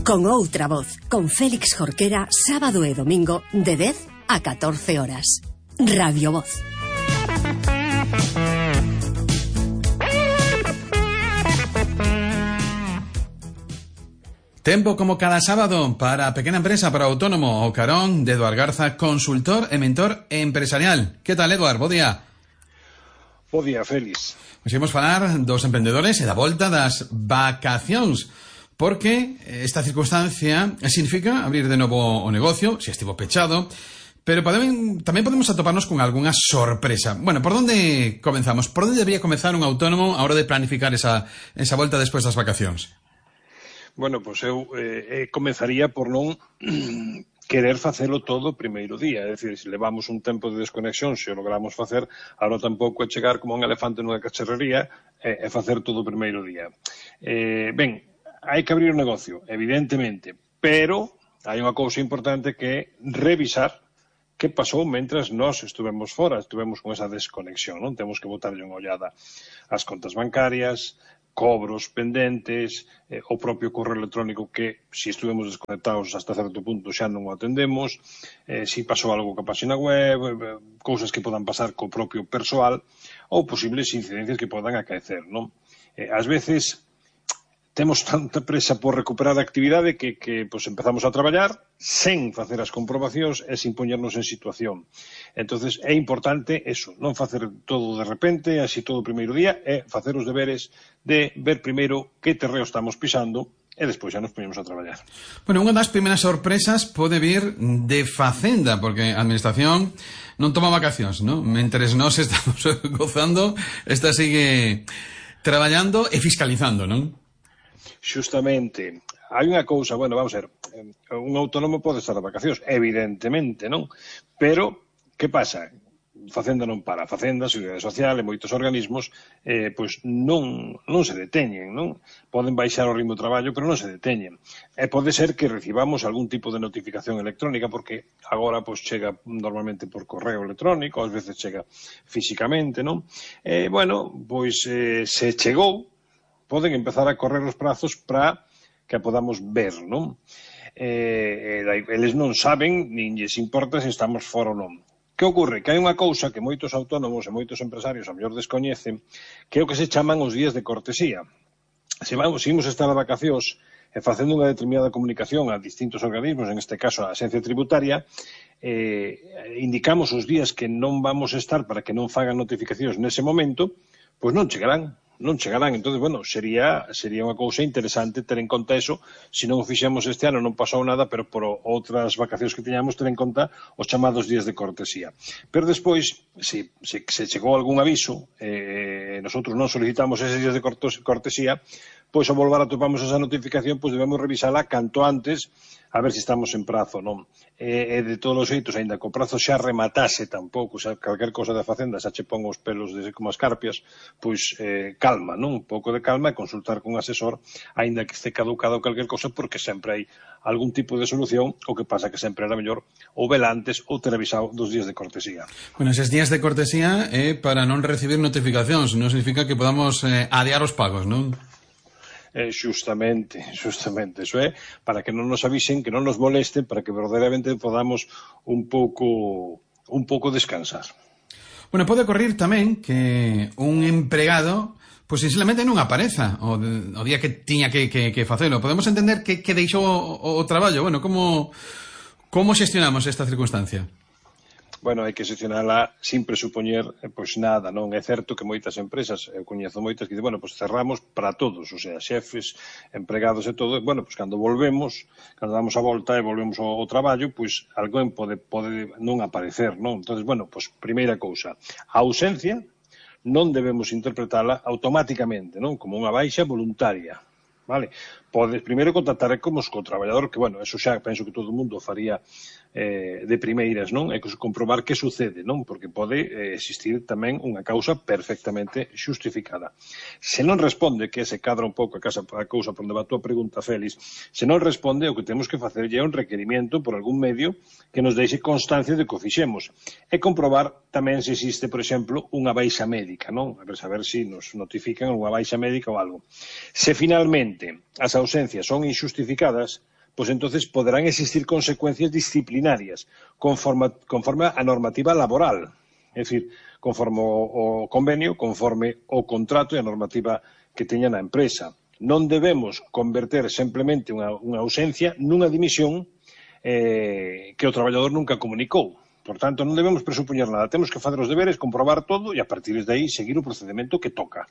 Con outra voz, con Félix Jorquera, sábado e domingo, de 10 a 14 horas. Radio Voz. Tempo como cada sábado para a pequena empresa, para o autónomo, o carón de Eduard Garza, consultor e mentor empresarial. Que tal, Eduard? Bo día. Bo día, Félix. Hoxe imos falar dos emprendedores e da volta das vacacións, porque esta circunstancia significa abrir de novo o negocio, se estivo pechado, pero tamén podemos atoparnos con algunha sorpresa. Bueno, por onde comenzamos? Por onde debería comenzar un autónomo a hora de planificar esa volta despois das vacacións? Bueno, pois eu comenzaría por non querer facelo todo o primeiro día. É dicir, se levamos un tempo de desconexión, se o logramos facer, agora tampouco é chegar como un elefante nunha cacharrería e facer todo o primeiro día. Ben, hai que abrir o negocio, evidentemente, pero hai unha cousa importante que é revisar que pasou mentras nós estuvemos fora, estuvemos con esa desconexión, non? Temos que botarlle unha ollada ás contas bancarias, cobros pendentes, o propio correo electrónico que, se estuvemos desconectados hasta certo punto, xa non o atendemos, se pasou algo ca página web, cousas que podan pasar co propio persoal, ou posibles incidencias que podan acaecer, non? Ás veces temos tanta presa por recuperar a actividade que pois, empezamos a traballar sen facer as comprobacións e sin poñernos en situación. Entonces é importante eso, non facer todo de repente, así todo o primeiro día, é facer os deberes de ver primeiro que terreo estamos pisando e despois xa nos poñemos a traballar. Bueno, unha das primeiras sorpresas pode vir de Facenda, porque a Administración non toma vacacións, non? Mentres nós estamos gozando, esta sigue traballando e fiscalizando, non? Justamente, hai unha cousa, bueno, vamos a ver, un autónomo pode estar de vacacións, evidentemente, non? Pero, que pasa? Facenda non para. Facenda, Seguridade Social e moitos organismos, pois non se deteñen, non? Poden baixar o ritmo de traballo, pero non se deteñen. E pode ser que recibamos algún tipo de notificación electrónica, porque agora pois chega normalmente por correo electrónico, ás veces chega físicamente, non? Bueno, pois se chegou, poden empezar a correr os prazos para que a podamos ver, non? Eles non saben, nin lles importa se estamos fora ou non. Que ocorre? Que hai unha cousa que moitos autónomos e moitos empresarios a mellor descoñecen, que é o que se chaman os días de cortesía. Se imos estar a vacacións e facendo unha determinada comunicación a distintos organismos, en este caso a Axencia Tributaria, indicamos os días que non vamos estar para que non fagan notificacións nese momento, pois non chegarán. Entonces, bueno, sería unha cousa interesante ter en conta eso. Se non o fixemos este ano non pasou nada, pero por outras vacacións que teñamos ter en conta os chamados días de cortesía. Pero despois, se chegou algún aviso, nosotros non solicitamos eses días de cortesía, pois ao volver a topamos esa notificación, pois debemos revisala canto antes, a ver se estamos en prazo, non? E de todos os xeitos, aínda que o prazo xa rematase tampouco, xa calquer cosa da Facenda xa che pon os pelos como as carpias, pois calma, non? Un pouco de calma e consultar con un asesor, aínda que este caducado calquer cosa, porque sempre hai algún tipo de solución, o que pasa que sempre era mellor ou vela antes ou ter avisado dos días de cortesía. Bueno, eses días de cortesía é para non recibir notificacións, non significa que podamos adiar os pagos, non? Justamente, eso é para que non nos avisen, que non nos molesten, para que verdadeiramente podamos un pouco descansar. Bueno, pode ocorrer tamén que un empregado pois sinceramente non apareza o día que tiña que facelo. Podemos entender que deixou o traballo. Bueno, como xestionamos esta circunstancia? Bueno, hai que xestionala sin presupoñer pois nada, non? É certo que moitas empresas, eu coñezo moitas que dicen, bueno, pois cerramos para todos, o sea, xefes, empregados e todo, bueno, pois cando damos a volta e volvemos ao traballo, pois alguén pode non aparecer, non? Entonces, bueno, pois primeira cousa, a ausencia non debemos interpretala automáticamente, non? Como unha baixa voluntaria, vale? Podes primeiro contactar co traballador, que, bueno, eso xa penso que todo o mundo faría de primeiras, non? E comprobar que sucede, non? Porque pode existir tamén unha causa perfectamente xustificada. Se non responde, que se cadra un pouco a cousa por onde va a túa pregunta, Félix, se non responde, o que temos que facer é un requerimento por algún medio que nos deixe constancia de que o fixemos. E comprobar tamén se existe, por exemplo, unha baixa médica, non? A ver se nos notifican unha baixa médica ou algo. Se finalmente as ausencias son injustificadas, pues entonces poderán existir consecuencias disciplinarias conforme a normativa laboral. É dicir, conforme o convenio, conforme o contrato e a normativa que teña na empresa. Non debemos converter simplemente unha ausencia nunha dimisión que o traballador nunca comunicou. Por tanto, non debemos presupoñer nada. Temos que facer os deberes, comprobar todo e a partir de aí seguir o procedimento que toca.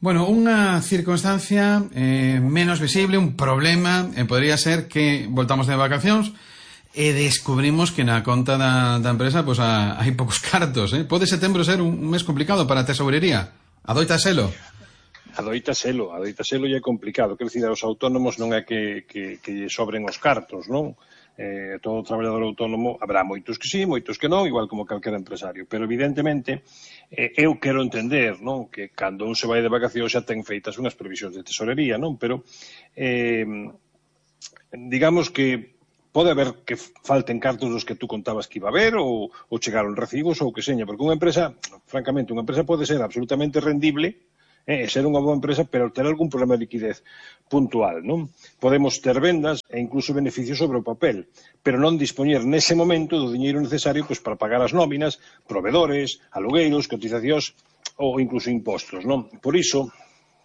Bueno, unha circunstancia menos visible, un problema, podría ser que voltamos de vacacións e descubrimos que na conta da empresa pues, hai poucos cartos. Pode setembro ser un mes complicado para a tesourería? Adoita selo? Adoita selo e é complicado. Quer dicir, aos autónomos non é que lle sobren os cartos, non? Todo traballador autónomo, habrá moitos que sí, moitos que non, igual como calquera empresario. Pero, evidentemente, eu quero entender, non? Que cando un se vai de vacacións xa ten feitas unhas previsións de tesorería, non? Pero, digamos que pode haber que falten cartos dos que tú contabas que iba a haber ou chegaron recibos ou que seña, porque unha empresa, francamente, unha empresa pode ser absolutamente rendible, ser unha boa empresa, pero ter algún problema de liquidez puntual, non? Podemos ter vendas e incluso beneficios sobre o papel, pero non dispoñer nese momento do diñeiro necesario pues, para pagar as nóminas, provedores, alugueiros, cotizacións ou incluso impostos, non? Por iso,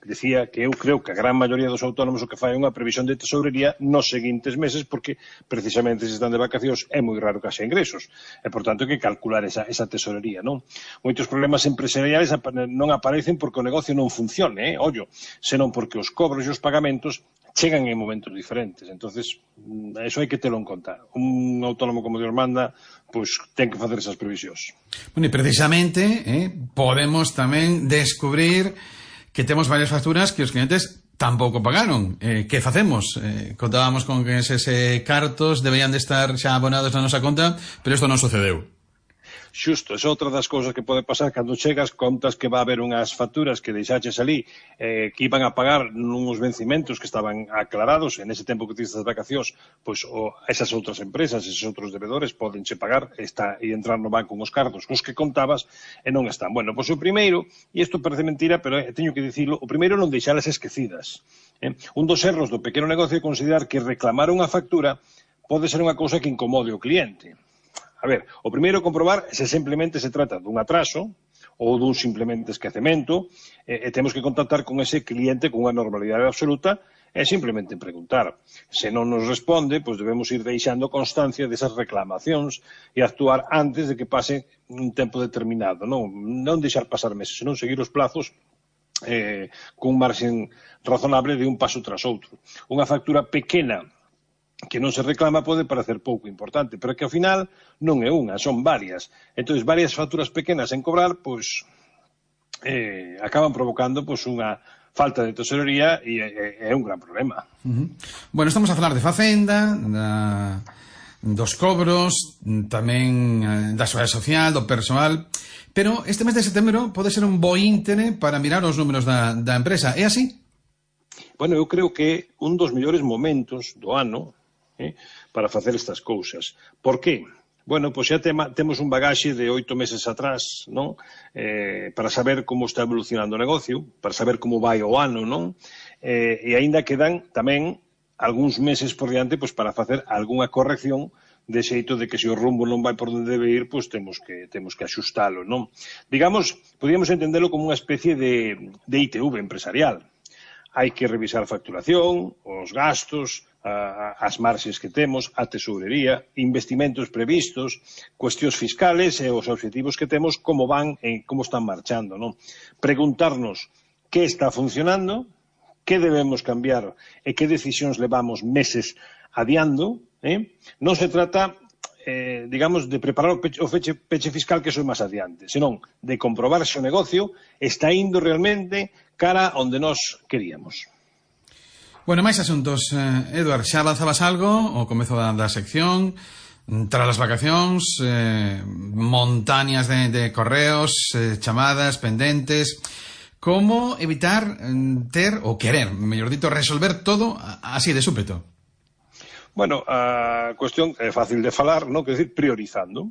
decía que eu creo que a gran maioría dos autónomos o que fai é unha previsión de tesourería nos seguintes meses porque precisamente se están de vacacións é moi raro que haxa ingresos e por tanto hai que calcular esa tesourería, non? Moitos problemas empresariais non aparecen porque o negocio non funcione, ollo, senón porque os cobros e os pagamentos chegan en momentos diferentes. Entonces, eso hai que telo en conta. Un autónomo como Dios manda, pois ten que facer esas previsións. Bueno, e precisamente podemos tamén descubrir que temos varias facturas que os clientes tampouco pagaron. Que facemos? Contábamos con que eses cartos deberían de estar xa abonados na nosa conta, pero isto non sucedeu. Xusto, é outra das cousas que pode pasar cando chegas, contas que va a haber unhas facturas que deixaches ali que iban a pagar nuns vencimentos que estaban aclarados en ese tempo que tiste as vacacións, pois esas outras empresas, esos outros devedores podenche pagar e entrar no banco uns cartos cos que contabas e non están. Bueno, pois o primeiro, e isto parece mentira, pero teño que dicilo, o primeiro non deixalas esquecidas. Un dos erros do pequeno negocio é considerar que reclamar unha factura pode ser unha cousa que incomode o cliente. A ver, o primeiro comprobar se simplemente se trata dun atraso ou dun simplemente esquecemento e temos que contactar con ese cliente con unha normalidade absoluta e simplemente preguntar. Se non nos responde, pois debemos ir deixando constancia desas reclamacións e actuar antes de que pase un tempo determinado. Non deixar pasar meses, senón seguir os plazos cun marxen razonable de un paso tras outro. Unha factura pequena que non se reclama pode parecer pouco importante, pero que ao final non é unha, son varias. Entón, varias facturas pequenas en cobrar, pois, acaban provocando pois, unha falta de tesorería e é un gran problema. Bueno, estamos a falar de Facenda, dos cobros, tamén da Seguridade Social, do persoal, pero este mes de setembro pode ser un bo íntere para mirar os números da empresa. É así? Bueno, eu creo que é un dos mellores momentos do ano para facer estas cousas. Por qué? Bueno, pois xa temos un bagaxe de 8 meses atrás, non? Para saber como está evolucionando o negocio, para saber como vai o ano, non? E aínda quedan tamén algúns meses por diante pois, para facer algunha corrección de xeito de que se o rumbo non vai por onde debe ir, pois temos que axustalo, non? Digamos, podíamos entendelo como unha especie de ITV empresarial. Hai que revisar a facturación, os gastos, as marxes que temos, a tesourería, investimentos previstos, cuestións fiscales e os obxectivos que temos, como van e como están marchando, non? Preguntarnos que está funcionando, que debemos cambiar e que decisións levamos meses adiando. Non se trata, digamos, de preparar o peche fiscal que soe máis adiante, senón de comprobar se o negocio está indo realmente cara onde nós queríamos. Bueno, máis asuntos. Eduard, xa avanzabas algo ao comezo da sección, tras as vacacións, montañas de correos, chamadas, pendentes. Como evitar ter, ou querer, mellor dito, resolver todo así de súpeto? Bueno, a cuestión é fácil de falar, non? Quer dizer, priorizando.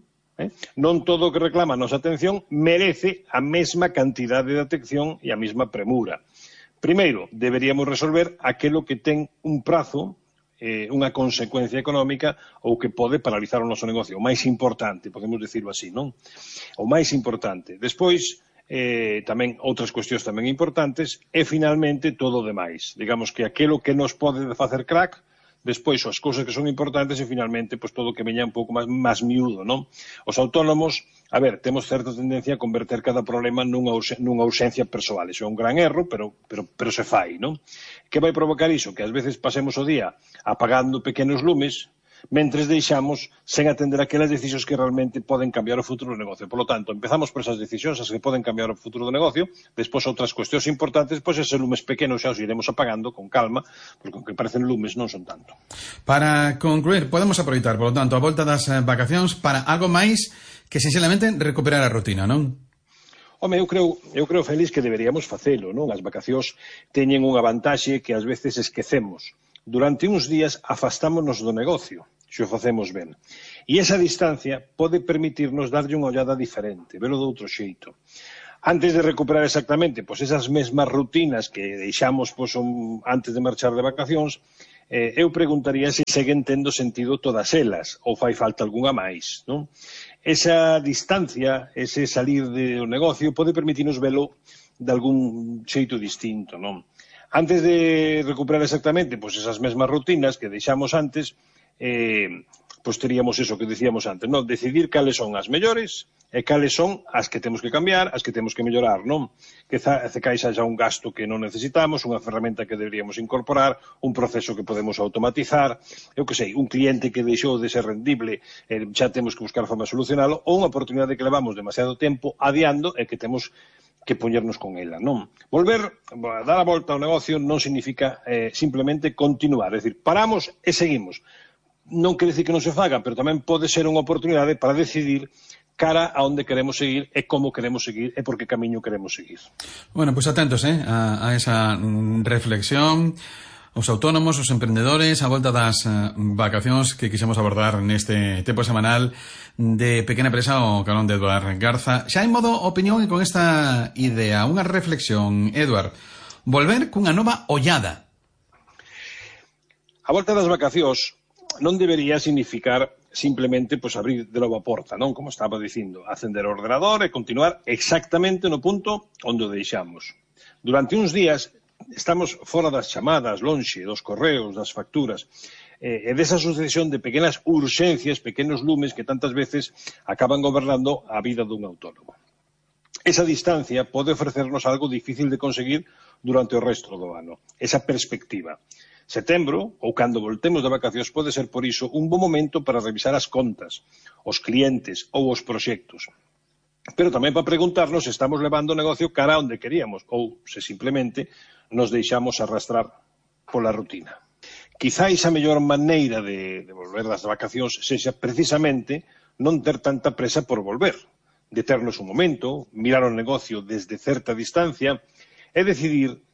Non todo o que reclama a nosa atención merece a mesma cantidade de atención e a mesma premura. Primeiro, deberíamos resolver aquilo que ten un prazo unha consecuencia económica ou que pode paralizar o noso negocio. O máis importante, podemos decirlo así, non? O máis importante. Despois, tamén outras cuestións tamén importantes e finalmente todo o demais. Digamos que aquilo que nos pode facer crack, despois as cousas que son importantes e finalmente pues, todo o que veña un pouco máis miúdo, non? Os autónomos, a ver, temos certa tendencia a converter cada problema nunha ausencia persoal. Iso é un gran erro, pero se fai, non? Que vai provocar iso? Que ás veces pasemos o día apagando pequenos lumes mentres deixamos sen atender aquelas decisións que realmente poden cambiar o futuro do negocio. Por lo tanto, empezamos por esas decisións as que poden cambiar o futuro do negocio, despois outras cuestións importantes, pois eses lumes pequenos xa os iremos apagando con calma, porque aunque parecen lumes non son tanto. Para concluir, podemos aproveitar, por lo tanto, a volta das vacacións para algo máis que, sinceramente, recuperar a rutina, non? Home, eu creo, Félix, que deberíamos facelo, non? As vacacións teñen unha vantaxe que ás veces esquecemos. Durante uns días afastámonos do negocio, se o facemos ben. E esa distancia pode permitirnos darlle unha ollada diferente, velo de outro xeito. Antes de recuperar exactamente pois esas mesmas rutinas que deixamos pois, antes de marchar de vacacións, eu preguntaría se seguen tendo sentido todas elas, ou fai falta algunha máis, non? Esa distancia, ese salir do negocio, pode permitirnos velo de algún xeito distinto, non? Antes de recuperar exactamente pois esas mesmas rutinas que deixamos antes, pois teríamos eso que decíamos antes, non? Decidir cales son as mellores e cales son as que temos que cambiar, as que temos que mellorar, non? Que caixa xa un gasto que non necesitamos, unha ferramenta que deberíamos incorporar, un proceso que podemos automatizar, eu que sei, un cliente que deixou de ser rendible, xa temos que buscar a forma de solucionalo, ou unha oportunidade que levamos demasiado tempo adiando e que temos que poñernos con ela, non? Dar a volta ao negocio non significa simplemente continuar, é dicir, paramos e seguimos. Non quere dicir que non se faga, pero tamén pode ser unha oportunidade para decidir cara a onde queremos seguir e como queremos seguir e por que camiño queremos seguir. Bueno, pues atentos a esa reflexión. Os autónomos, os emprendedores, a volta das vacacións que quixemos abordar neste tempo semanal de Pequena Empresa o calón de Eduard Garza. Xa en modo opinión e con esta idea, unha reflexión, Eduard, volver cunha nova ollada. A volta das vacacións non debería significar simplemente pues, abrir de novo a porta, non? Como estaba dicindo, acender o ordenador e continuar exactamente no punto onde o deixamos. Durante uns días estamos fora das chamadas, lonxe, dos correos, das facturas, e desa sucesión de pequenas urxencias, pequenos lumes que tantas veces acaban gobernando a vida dun autónomo. Esa distancia pode ofrecernos algo difícil de conseguir durante o resto do ano, esa perspectiva. Setembro, ou cando voltemos de vacacións, pode ser por iso un bon momento para revisar as contas, os clientes ou os proxectos. Pero tamén para preguntarnos se estamos levando o negocio cara onde queríamos ou se simplemente nos deixamos arrastrar pola rutina. Quizáis a mellor maneira de volver das vacacións sexa precisamente non ter tanta presa por volver, deternos un momento, mirar o negocio desde certa distancia e decidir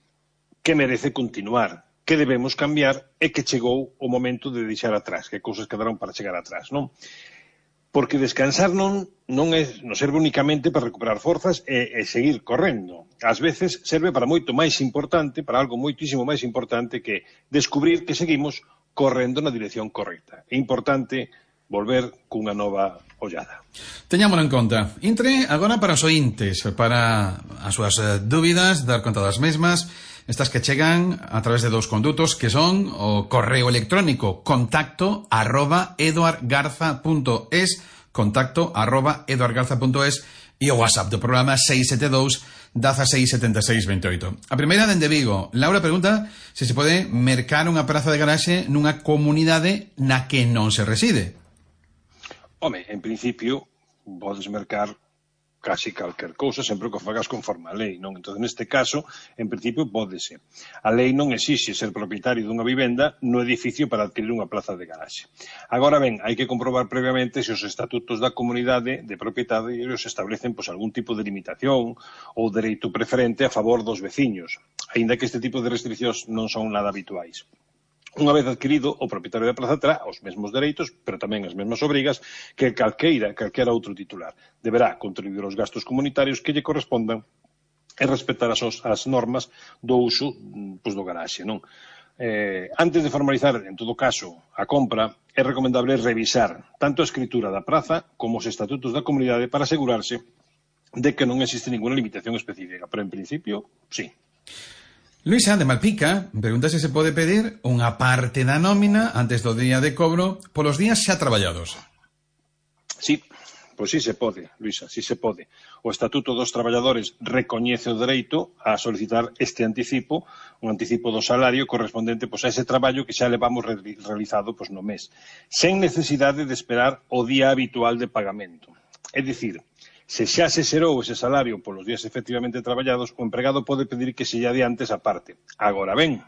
que merece continuar, que debemos cambiar e que chegou o momento de deixar atrás, que cousas quedaron para chegar atrás, non? Porque descansar non serve únicamente para recuperar forzas e seguir correndo. Ás veces serve para moito máis importante, para algo moitísimo máis importante que descubrir que seguimos correndo na dirección correcta. É importante volver cunha nova ollada. Teñámolo en conta. Intre agora para os ointes, para as súas dúbidas, dar conta das mesmas, estas que chegan a través de dous condutos que son o correo electrónico contacto@eduardgarza.es contacto@eduardgarza.es e o WhatsApp do programa 672 16 76 28. A primeira dende Vigo. Laura pregunta se se pode mercar unha praza de garaxe nunha comunidade na que non se reside. Home, en principio, podes mercar casi calquer cousa, sempre que o fagas conforme a lei, non? Entón, neste caso, en principio, pódese. A lei non exixe ser propietario dunha vivenda no edificio para adquirir unha plaza de garaxe. Agora ben, hai que comprobar previamente se os estatutos da comunidade de propietarios establecen pois, algún tipo de limitación ou dereito preferente a favor dos veciños, aínda que este tipo de restriccións non son nada habituais. Unha vez adquirido, o propietario da plaza terá os mesmos dereitos, pero tamén as mesmas obrigas que calquera outro titular. Deberá contribuir aos gastos comunitarios que lle correspondan e respetar as normas do uso do garaxe, non? Antes de formalizar, en todo caso, a compra, é recomendable revisar tanto a escritura da praza como os estatutos da comunidade para asegurarse de que non existe ninguna limitación específica, pero en principio, sí. Luisa, de Malpica, pregunta se pode pedir unha parte da nómina antes do día de cobro polos días xa traballados. Sí, pois sí se pode, Luisa, sí se pode. O Estatuto dos Traballadores recoñece o dereito a solicitar este anticipo, un anticipo do salario correspondente pois, a ese traballo que xa levamos realizado pois, no mes, sen necesidade de esperar o día habitual de pagamento. É dicir, se xa se xerou ese salario polos días efectivamente traballados, o empregado pode pedir que se lle adiante esa parte. Agora ben,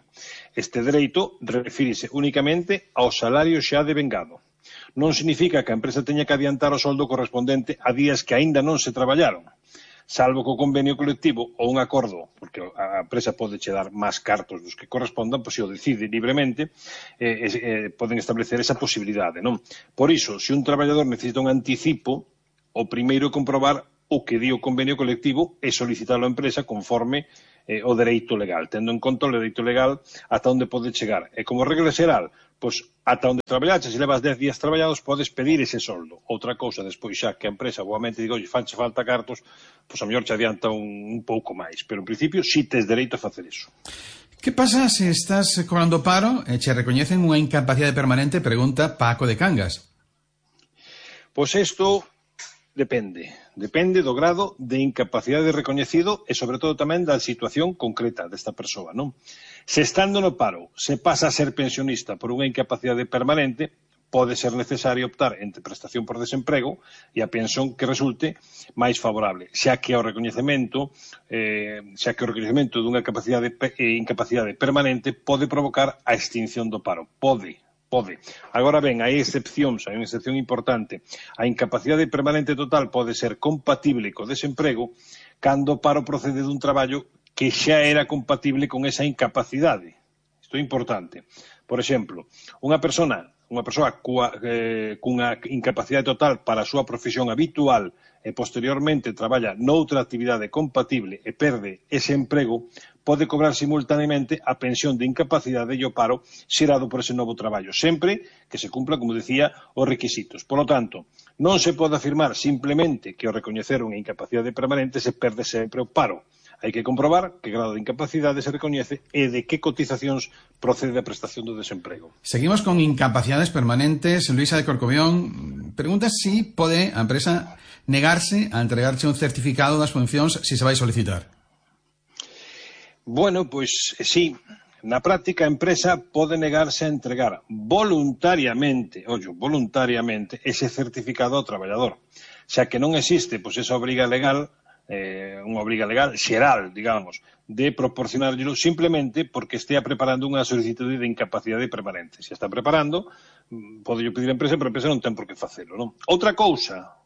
este dereito refírese únicamente ao salario xa devengado. Non significa que a empresa teña que adiantar o soldo correspondente a días que aínda non se traballaron, salvo que o convenio colectivo ou un acordo, porque a empresa pode che dar máis cartos dos que correspondan, pois se o decide libremente, poden establecer esa posibilidade, non? Por iso, se un traballador necesita un anticipo, o primeiro é comprobar o que di o convenio colectivo e solicitalo á empresa conforme o dereito legal, tendo en conta o dereito legal ata onde pode chegar. E como regla xeral, pois ata onde traballaches, se levas 10 días traballados, podes pedir ese soldo. Outra cousa, despois xa que a empresa boamente diga, oi, fanche falta cartos, pois a mellor che adianta un pouco máis. Pero en principio, si tes dereito a facer iso. Que pasa se estás cobrando paro e che recoñecen unha incapacidade permanente? Pregunta Paco de Cangas. Pois isto depende do grado de incapacidade recoñecido e, sobre todo, tamén da situación concreta desta persoa, non? Se estando no paro se pasa a ser pensionista por unha incapacidade permanente, pode ser necesario optar entre prestación por desemprego e a pensión que resulte máis favorable, xa que o recoñecemento dunha incapacidade permanente pode provocar a extinción do paro. Pode. Agora ben, hai excepcións, hai unha excepción importante. A incapacidade permanente total pode ser compatible co desemprego cando o paro procede dun traballo que xa era compatible con esa incapacidade. Isto é importante. Por exemplo, unha persoa cunha incapacidade total para a súa profesión habitual e posteriormente traballa noutra actividade compatible e perde ese emprego, pode cobrar simultaneamente a pensión de incapacidade e o paro xerado por ese novo traballo, sempre que se cumpla, como decía, os requisitos. Por lo tanto, non se pode afirmar simplemente que ao recoñecer unha incapacidade permanente se perde sempre o paro. Hai que comprobar que grado de incapacidade se recoñece e de que cotizacións procede a prestación do desemprego. Seguimos con incapacidades permanentes. Luisa de Corcobión pregunta si pode a empresa negarse a entregarche un certificado das funcións se se vai solicitar. Bueno, pois sí. Na práctica, a empresa pode negarse a entregar voluntariamente ese certificado ao traballador, xa que non existe pois esa obriga legal, unha obriga legal xeral, digamos, de proporcionarlo simplemente porque estea preparando unha solicitude de incapacidade permanente. Se está preparando, pode pedir a empresa, pero a empresa non ten por que facelo, non? Outra cousa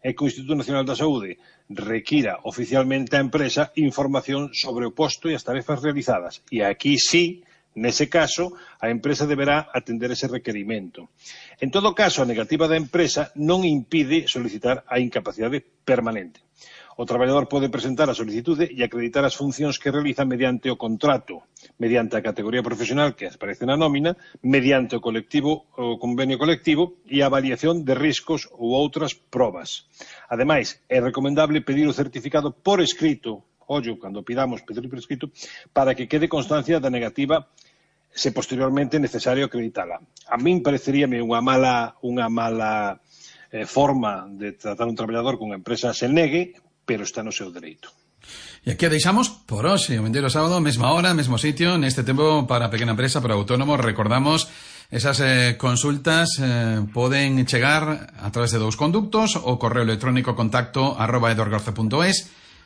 é que o Instituto Nacional da Saúde requira oficialmente á empresa información sobre o posto e as tarefas realizadas. E aquí sí, nese caso, a empresa deberá atender ese requerimento. En todo caso, a negativa da empresa non impide solicitar a incapacidade permanente. O traballador pode presentar a solicitude e acreditar as funcións que realiza mediante o contrato, mediante a categoría profesional que aparece na nómina, mediante o convenio colectivo e a avaliación de riscos ou outras probas. Ademais, é recomendable pedir o certificado por escrito, cando pidamos pedir por escrito, para que quede constancia da negativa se posteriormente é necesario acreditala. A min pareceríame unha mala forma de tratar un traballador con unha empresa se negue, pero está no seu dereito. E aquí a deixamos por hoxe, o vindeiro sábado, mesma hora, mesmo sitio, neste tempo para pequena empresa, para autónomos. Recordamos, esas consultas poden chegar a través de dous conductos, o correo electrónico contacto@eduargarza.es,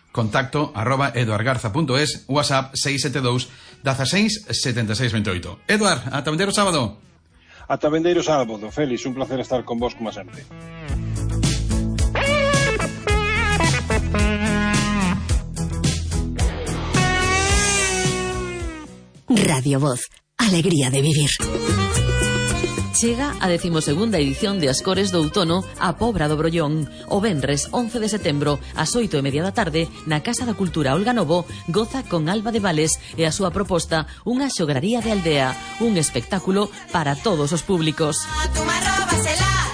contacto@eduargarza.es, WhatsApp 672 16 76 28. Eduard, ata vindeiro sábado. Ata vindeiro sábado, Félix, un placer estar con vos como sempre. Radio Voz, alegría de vivir. Chega a 12ª edición de As Cores do Outono a Pobra do Brollón. O venres 11 de setembro ás 8:30 da tarde na Casa da Cultura Olga Novo goza con Alba de Vales e a súa proposta unha xograría de aldea, un espectáculo para todos os públicos.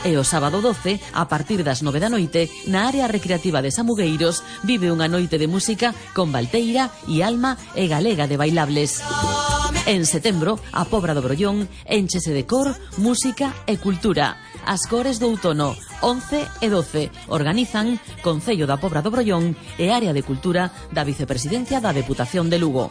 E o sábado 12, a partir das 9 da noite, na área recreativa de Samugueiros, vive unha noite de música con Valteira e Alma e Galega de Bailables. En setembro, a Pobra do Brollón énchese de cor, música e cultura. As Cores do Outono, 11 e 12, organizan Concello da Pobra do Brollón e Área de Cultura da Vicepresidencia da Deputación de Lugo.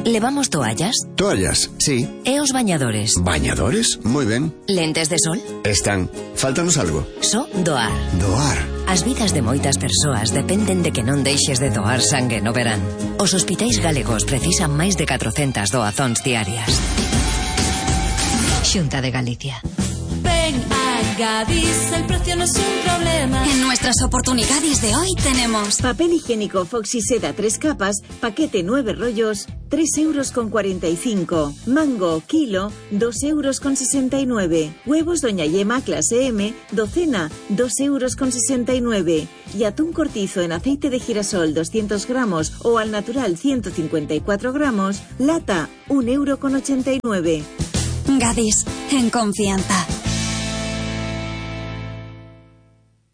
¿Levamos toallas? Toallas, sí. ¿E os bañadores? ¿Bañadores? Muy ben. ¿Lentes de sol? Están. Fáltanos algo. So doar. Doar. As vidas de moitas persoas dependen de que non deixes de doar sangue no verán. Os hospitais galegos precisan máis de 400 doazóns diarias. Xunta de Galicia. Ven a Gadis, el precio no es un problema. En nuestras oportunidades de hoy tenemos papel higiénico Foxyseda 3 capas, paquete 9 rollos, 3,45 €. Mango, kilo, 2,69 €. Huevos Doña Yema clase M, docena, 2,69 €. Y atún cortizo en aceite de girasol 200 gramos o al natural 154 gramos, lata, 1,89 €. Gadis, en confianza.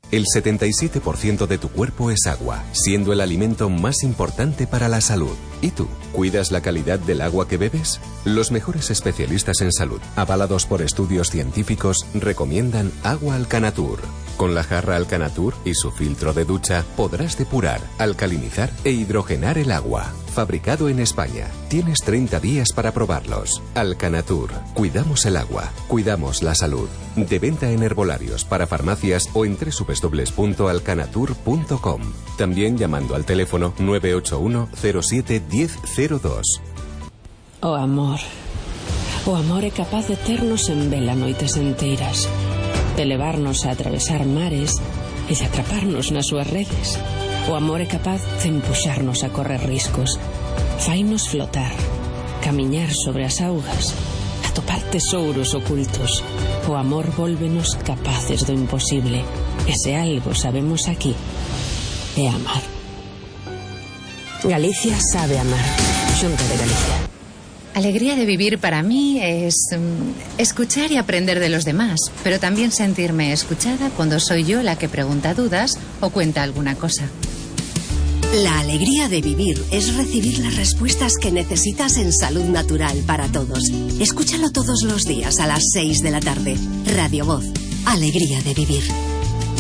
El 77% de tu cuerpo es agua, siendo el alimento más importante para la salud. ¿Y tú? ¿Cuidas la calidad del agua que bebes? Los mejores especialistas en salud, avalados por estudios científicos, recomiendan agua Alcanatur. Con la jarra Alcanatur y su filtro de ducha podrás depurar, alcalinizar e hidrogenar el agua. Fabricado en España. Tienes 30 días para probarlos. Alcanatur. Cuidamos el agua. Cuidamos la salud. De venta en herbolarios, para farmacias o en www.alcanatur.com. También llamando al teléfono 981 07 1002. O amor. O amor é capaz de ternos en vela noites enteiras, de levarnos a atravesar mares e de atraparnos nas súas redes. O amor é capaz de empuxarnos a correr riscos, fainos flotar, camiñar sobre as augas, atopar tesouros ocultos. O amor vólvenos capaces do imposible, e se algo sabemos aquí é amar. Galicia sabe amar. Xunta de Galicia. Alegría de vivir para mí es escuchar y aprender de los demás, pero también sentirme escuchada cuando soy yo la que pregunta dudas o cuenta alguna cosa. La alegría de vivir es recibir las respuestas que necesitas en Salud Natural para Todos. Escúchalo todos los días a las 6 de la tarde. Radio Voz. Alegría de vivir.